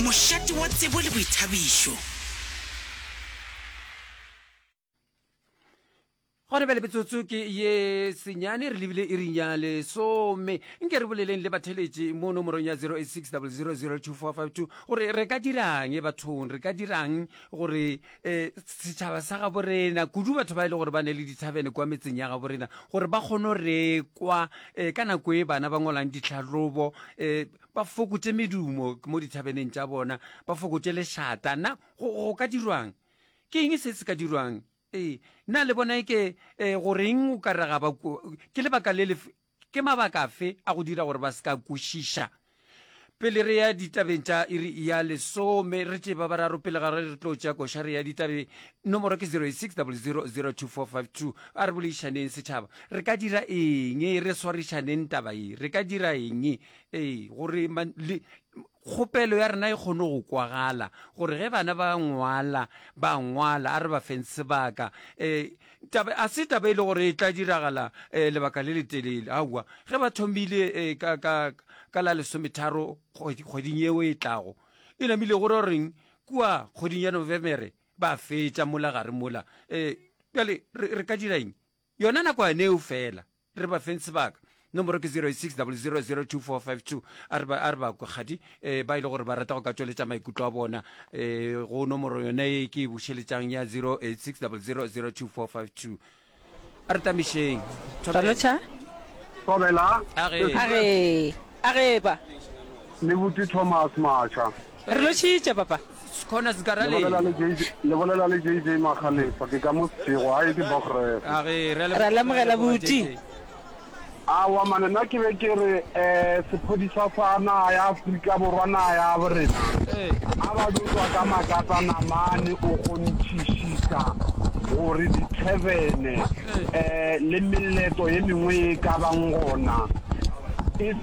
Mošate wa tsebo le boithabišo. Gona bjale metsotso ke ye senyane re lebile iring ya lesome. Nke re boleleng le batheletši mo nomorong ya 0860002452 gore re ka dirang bathong, re ka dirang gore um setšhaba sa gabo rena, kudu batho ba e le gore ba ne le dithabene kwa metseng ya gabo rena, gore ba kgone go rekwa um ka nako e bana ba ngwalang ditlhahlobo um ba fokotše medumo mo dithabeneng tša bona, ba fokotše lešata. Na go ka dirwang? Ke eng se se ka dirwang? Ee, na le bona eke e, go reng o ka re ga ba ke lebaka le lefe, ke mabaka afe a go dira gore ba se ka kwešiša? Pele re ya ditabeng tša iri ya lesome, re tšee ba bararo pele ga re re tlo tšea koša re ya ditabeng. Nomoro ke 0860002452. A re boledišaneng setšhaba. Re ka dira eng? Re swarišaneng taba ye. Re ka dira eng? Ee, gore le, Kgopelo ya rena e kgone go kwagala, gore ge bana ba ngwala, ba ngwala, a re ba feng sebaka. E, taba, a se taba e le gore e tla diragala e, lebaka le letelele. Aowa, ge ba thomile e, ka, ka, ka la lesometharo kgweding yeo e tlago, e namile go ra goreng kua kgweding ya Novemere ba fetša mola gare mola. E, bjale re, re ka dira eng? Yona nakwana eo feela. Re ba feng sebaka. Nomoro ke 0600022452. A re ba, a re ba kwe kgadi, eh, ba e le gore ba rata go ka tšweletša maikutlo a bona, eh, go nomoro yona e ke e bušeletšang ya 0860002452. A re tamišeng. Thobela. Ralotšha. Thobela. A ge. A ge. A ge pa. Le buti Thomas Macha. Re lotšhitše papa. Skhona Le bolela le JJ, le bolela le JJ Makgalefa, ke ka mo Seshego, gae ke Bogref. A ge, re a Ra lemogela buti. Aowa mane nna ke be ke re eh sephodisa sa naga ya Afrika Borwa naga ya borena a ba dio tswa ka makatana mane o kgonthišisa gore di-tavern eh le meleto ye mengwe ye e ka bang gona e.